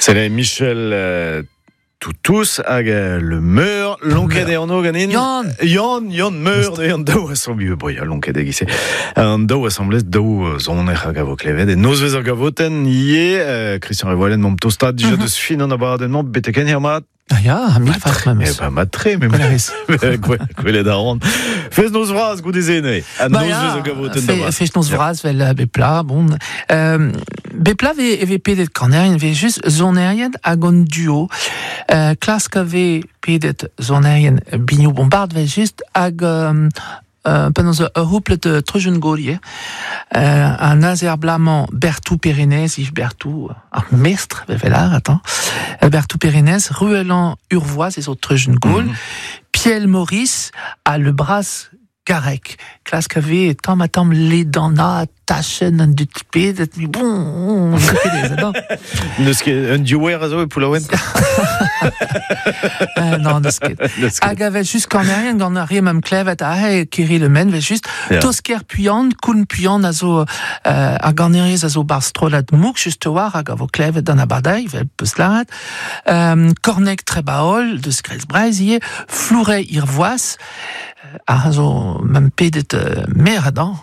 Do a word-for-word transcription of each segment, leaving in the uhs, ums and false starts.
C'est Michel euh, Toutous hag euh, le meur lonket e anv ganin. Yann. Yann, Yann meur de an daou assemblez bon ya lonket e gise. An daou assemblez daou zoner hag a vo klevet e nozvez ar gavotenn ivez euh, Christian Revoalen mom tosta dija deus fin an abadenn-mañ betek en mat. Ah ya, mil fas Eh memes. ben matre me Gwell gwelet a ran. Fez noz vras goude-se neuze. A Ba nozvez ya, ar gavotenn fe, da vat. fest noz vras vel euh, bepla, bon. Euh, bepla ve, ve pedet kanerien, ve just zonerien hag an duo. Euh, klask a ve pedet zonerien biniou bombard ve just hag euh, euh, penaos ur c'houple de treujen golier. Euh, un azer blamañ Bertou Périnez, Yves Bertou, ar mestr, ve velar, attends. Euh, Bertou Périnez, Ruelan Urvois, ez o treujen gol. Mhm. Piel Maurice a le bras Garec. Klask a ve tamm ha tamm ledana tachen an dut pedet, mais bon, on pedez, attends. Neus ket un diouer a zo e Poullaouen. Euh, non, neus ket. Neus ket. Hag a vel just kanerien gant ar re mam klevet a he Kiri Le Men, vel just Ya. Tosker Puyan, Koun Puyan a zo euh, a ganerez a zo bar strollad mouk just war hag a vo klevet d'an abadaï, vel peus laret. Euh, Kornek Trebaol, deus Grez Breiz ivez, Flouret Irvoas, euh, a zo mam pedet euh, mer adan.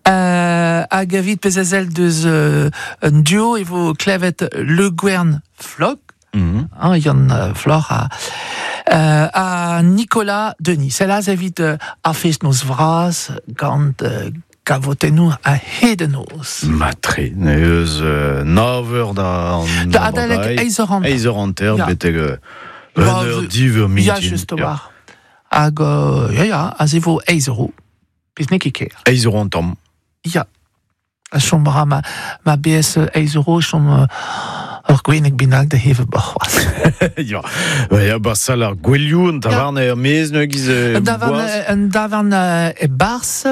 Euh, hag evit pez ezel deus euh, un duo e vo klevet Le Guern Flog, Mhm. hein, Yann euh, Flor a, euh, a Nicolas Denis. C'est là evit euh, a fest noz vras gant euh, gavotennou a hedenoz. Matre, neus euh, nav eur da an Da adalek eiz eur hanter. Eiz eur hanter, Ya. betek euh, Ba, un eur, div eur Ya, mintin. just war. Hag, euh, ya, ya, a ze vo eiz euro. Pez n'eo ket ker. Eiz euro an tamm. Ya. A chom ra ma, ma B S eiz euro, chom euh, ur gweneg bennak da heve boc'hoaz. Ya, ba, ya, ba sal ar gwelioù, an tavarn er maez neuze giz euh, Un davarn, boaz. un davarn euh, e bars,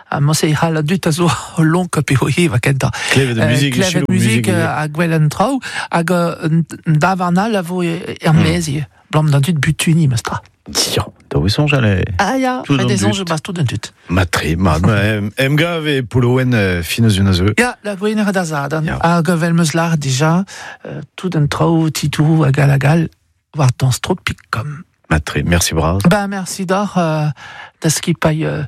a mos e c'hall a dut a zo lonk pe o heva kentañ. Klevet Euh, muzik, klevet selaou muzik muzik, euh, hag gwell an traoù, hag euh, un un davarn all a vo e- er maez ivez. Blam d'an dut butuni, meus tra. Ya, da oe soñj ale. Ah ya, Tout ret an ez dut. soñj bas tout an dut. Matre, ma, ma, em, em gav e Poullaouen euh, fin eus un a zeu. Ya, la gwener da zadan. Ya. Hag vel meus lar dija, euh, tout an traoù, titou, hag al hag al, war dans stropik kom. Matre, merci bras. Ben, merci d'or, euh, da skipailh, euh,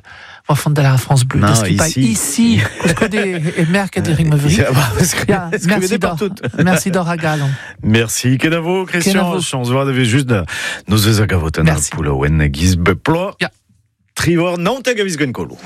war fond de la France Bleue, Non, da skipailh ici. ici, koulskoude e merk e ring mevri. Ya, ba, skrivet Ya, merci d'or. partout. Merci d'or a galon. Merci, kenavo, Christian. Kenavo. Chance voix devait juste da noz eus a gavotenn ar Merci. Poullaouen giz beplo. Ya. Trivor, naontek a viz gwen kolo.